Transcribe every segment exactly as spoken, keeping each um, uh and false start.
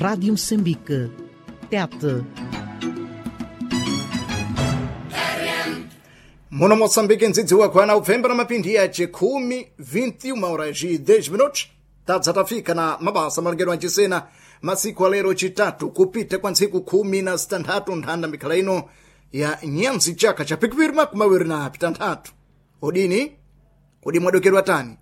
Rádio Moçambique. Tete. Muno Moçambique ndzidzi wakwana upfemba na mapindi yace khumi vinte e uma horas e dez minutos tadza tafika na mabasa malongero ancisena masiku alero chitatu kupita kwa ntsiku khumi na zitanthatu nthanda mikhala ino ya nyanzi chaka cha pikipiri makumi awiri na pitanthatu. Odini kodi mwadokerwa tani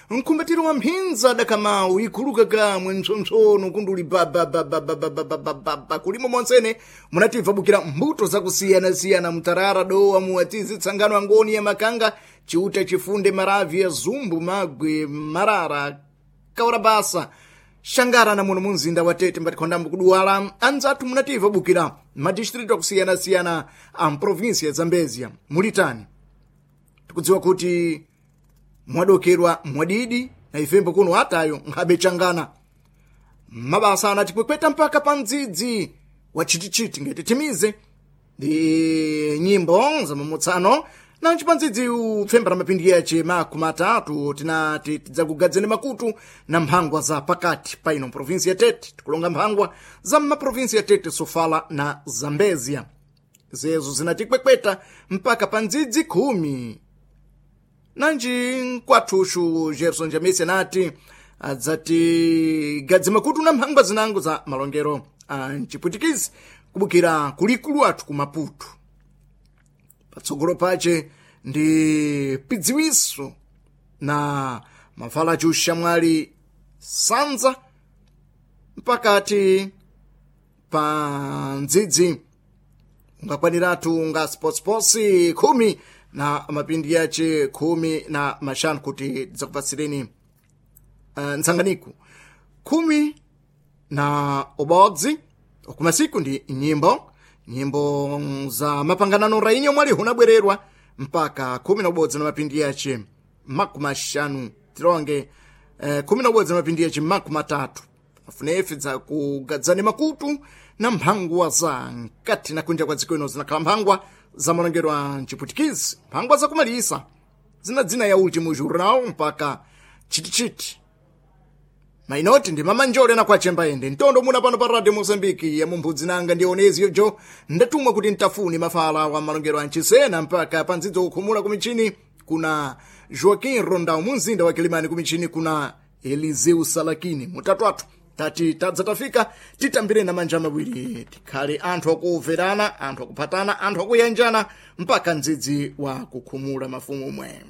mkumbatiro wa mphinza dakamau ikhuluka kamwe mpsompsono kunduli babababababababa kulimo monsene munativa bukira mbuto zakusiyanasiyana mtarara dowa muwatizi tsangano angoni ya makanga chiuta chifunde maravi ya zumbu magwe marara kaurabasa shangara na muno munzinda wa Tete mbatikhondambo kuduwala anzathu munativa bukira madistritu akusiyanasiyana a mprovinsia ya Zambezia mulitani tikudziwa kuti mwadokerwa mwadidi na ifembo kuno atayo nkhabe changana mabasa anatipwepweta mpaka pa mdzidzi wa chitichiti ngati timize ndi nyimbo za mamutsano nanji pa mdzidzi upfemba na mapindi yace makumi atatu tinati tidzakugadzeni makutu na mphangwa za pakati pa ino provinsi ya Tete. Tikulonga mphangwa za mmaprovinsi ya Tete, Sofala na Zambezia zezo zinatikwepweta mpaka pa ndzidzi khumi. Nanji nkwathuxu Gerson Jamisi anati adzati gadzi makutu na mphangwa zinango za malongero a mchipwitikizi kubukira kulikulu athu ku Maputo. Patsogolo pace ndi pidziwiso na mafala aciuxamwali sanza mpakati pa ndzidzi ungakwaniratu nga spotsiposi khumi na mapindi yace khumi na maxanu kuti tidzakupasireni uh, ntsanganiku khumi na ubodzi okumasiku ndi nyimbo nyimbo za mapanganano rainyo mwali hunabwererwa mpaka khumi na ubodzi na mapindi yace makumi axanu tilonge eh, khumi na ubodzi na mapindi yace makumi atatu afunefe dzakugadzani makutu na mphangwa za nkati na kunja kwa dziko ino zinakhala mphangwa za malongero a mchipwitikizi mphangwa zakumalisa zina dzina ya ultimo jornal mpaka chitichiti mainoti ndi mamanjole na kwachemba ende ntondo muna pano pa Radio Mozambique ya mumbudzi nanga ndi onezi yojo ndatumwa kuti ntafuni mafala wa malongero a mchisena mpaka pandzidzo kukhumula kumichini kuna Joaquim Rondao munzinda wa Kilimani kumichini kuna Eliseu Salakini mutatu athu tati tadza tafika titambire na manja mawiri tikhale anthu akuverana anthu akuphatana anthu akuyanjana mpaka mdzidzi wa kukhumula mafumu omwe.